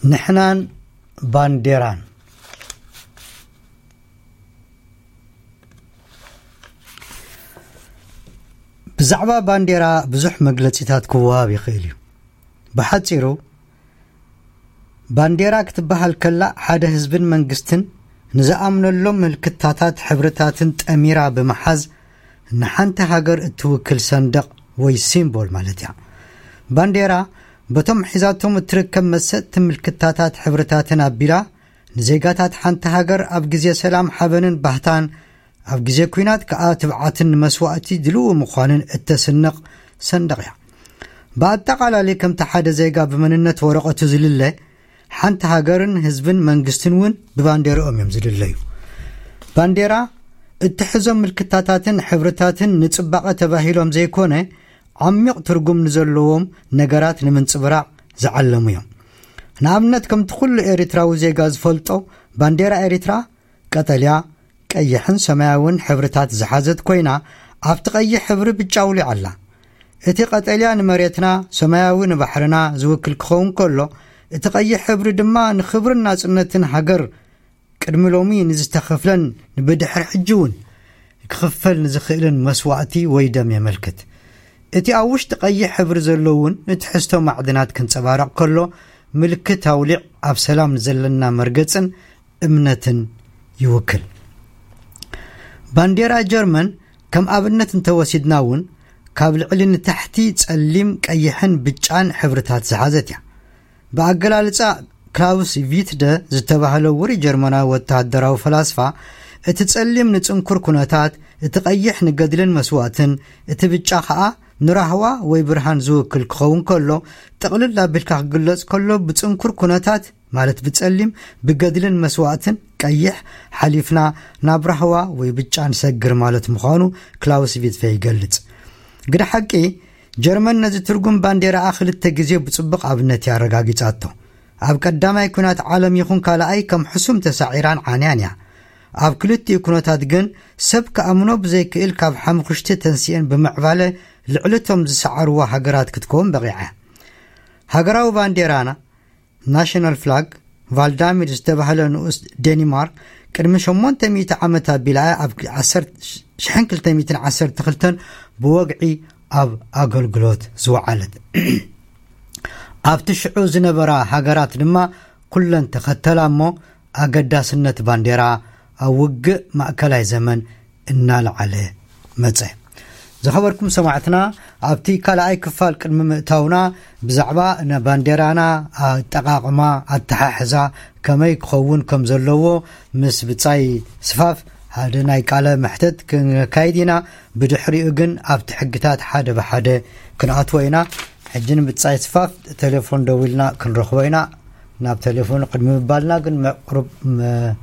ንሕናን ባንዴራን። ብዛዕባ ባንዴራ ብዙሕ መግለጺታት ክወሃብ ይኽእል እዩ። ብሓጺሩ፣ ባንዴራ ክትበሃል ከላ፣ ሓደ ህዝብን መንግስትን ንዝኣምነሎም ምልክታታት ሕብርታትን ጠሚራ ብምሓዝ ንሓንቲ ሃገር እትውክል ሰንደቕ ወይ ሲምቦል ማለት እያ። ባንዴራ በቶም ሒዛቶም እትርከብ መሰጥቲ ምልክታታት ሕብርታትን ኣቢላ፣ ንዜጋታት ሓንቲ ሃገር ኣብ ግዜ ሰላም ሓበንን ባህታን፣ ኣብ ግዜ ኲናት ከኣ ትብዓትን ንመስዋእቲ ድልው ምዃንን እተስንቕ ሰንደቕ እያ። ብኣጠቓላሊ ከምቲ ሓደ ዜጋ ብመንነት ወረቐቱ ዝልለ፣ ሓንቲ ሃገርን ህዝብን መንግስትን እውን ብባንዴርኦም እዮም ዝልለዩ። ባንዴራ እትሕዞም ምልክታታትን ሕብርታትን ንጽባቐ ተባሂሎም ዘይኮነ፣ ዓሚቕ ትርጉም ንዘለዎም ነገራት ንምንጽብራቕ ዝዓለሙ እዮም። ንኣብነት፣ ከምቲ ኩሉ ኤርትራዊ ዜጋ ዝፈልጦ፣ ባንዴራ ኤርትራ ቀጠልያ፣ ቀይሕን ሰማያውን ሕብርታት ዝሓዘት ኮይና፣ ኣብቲ ቀይሕ ሕብሪ ብጫ ኣውሊዓ ኣላ። እቲ ቀጠልያ ንመሬትና፣ ሰማያዊ ንባሕርና ዝውክል ክኸውን ከሎ፣ እቲ ቀይሕ ሕብሪ ድማ ንኽብርን ናጽነትን ሃገር፣ ቅድሚ ሎሚ ንዝተኸፍለን ንብድሕሪ ሕጂ እውን ክኽፈል ንዝኽእልን መስዋእቲ ወይ ደም የመልክት። እቲ ኣብ ውሽጢ ቀይሕ ሕብሪ ዘሎ እውን ንትሕዝቶ ማዕድናት ክንጸባረቕ ከሎ፣ ምልክት ኣውሊዕ ኣብ ሰላም ንዘለና መርገጽን እምነትን ይውክል። ባንዴራ ጀርመን ከም ኣብነት እንተወሲድና እውን፣ ካብ ልዕሊ ንታሕቲ ጸሊም፣ ቀይሕን ብጫን ሕብርታት ዝሓዘት እያ። ብኣገላልጻ ክላውስ ቪትደ ዝተባህለ ውሩይ ጀርመናዊ ወተሃደራዊ ፈላስፋ፣ እቲ ጸሊም ንጽንኩር ኩነታት፣ እቲ ቀይሕ ንገድልን መስዋእትን፣ እቲ ብጫ ኸኣ ንራህዋ ወይ ብርሃን ዝውክል ክኸውን ከሎ፣ ጥቕልል ኣቢልካ ክግለጽ ከሎ፣ ብጽንኩር ኩነታት፣ ማለት ብጸሊም፣ ብገድልን መስዋእትን፣ ቀይሕ፣ ሓሊፍና ናብ ራህዋ ወይ ብጫ ንሰግር ማለት ምዃኑ ክላውስ ቪትደ ይገልጽ። ግደ ሓቂ፣ ጀርመን ነዚ ትርጉም ባንዴራኣ ክልተ ግዜ ብጽቡቕ ኣብነት እያ ኣረጋጊጻቶ። ኣብ ቀዳማይ ኲናት ዓለም ይኹን ካልኣይ ከም ሕሱም ተሳዒራን ዓንያን እያ። ኣብ ክልቲኡ ኩነታት ግን ሰብ ክኣምኖ ብዘይክእል ካብ ሓሙኽሽቲ ተንሲኤን ብምዕባለ ልዕሊ እቶም ዝሰዓርዋ ሃገራት ክትከውን በቒዓ እያ። ሃገራዊ ባንዴራና፣ ናሽናል ፍላግ፣ ቫልዳሚር ዝተባህለ ንኡስ ዴኒማርክ ቅድሚ ሸሞንተ ሚእቲ ዓመት ኣቢላ እያ ኣብ ዓሰርተ፣ ሽሕን ክልተ ሚእትን ዓሰርተ ክልተን ብወግዒ ኣብ ኣገልግሎት ዝወዓለት። ኣብቲ ሽዑ ዝነበራ ሃገራት ድማ ኩለን ተኸተላ እሞ ኣገዳስነት ባንዴራ ኣብ ውግእ ማእከላይ ዘመን እናለዓለ መጸ። ዝኸበርኩም ሰማዕትና፣ ኣብቲ ካልኣይ ክፋል ቅድሚ ምእታውና ብዛዕባ ን-፣ ባንዴራና ኣጠቓቕማ፣ ኣተሓሕዛ ከመይ ክኸውን ከም ዘለዎ ምስ ብጻይ ስፋፍ ሓደ ናይ ቃለ መሕተት ክንካይድ ኢና። ብድሕሪኡ ግን ኣብቲ ሕግታት ሓደ ብሓደ ክንኣትዎ ኢና። ሕጂ ንብጻይ ስፋፍ ቴሌፎን ደዊልና ክንረኽቦ ኢና። ናብ ቴሌፎን ቅድሚ ምባልና ግን መቕሩብ መ-፣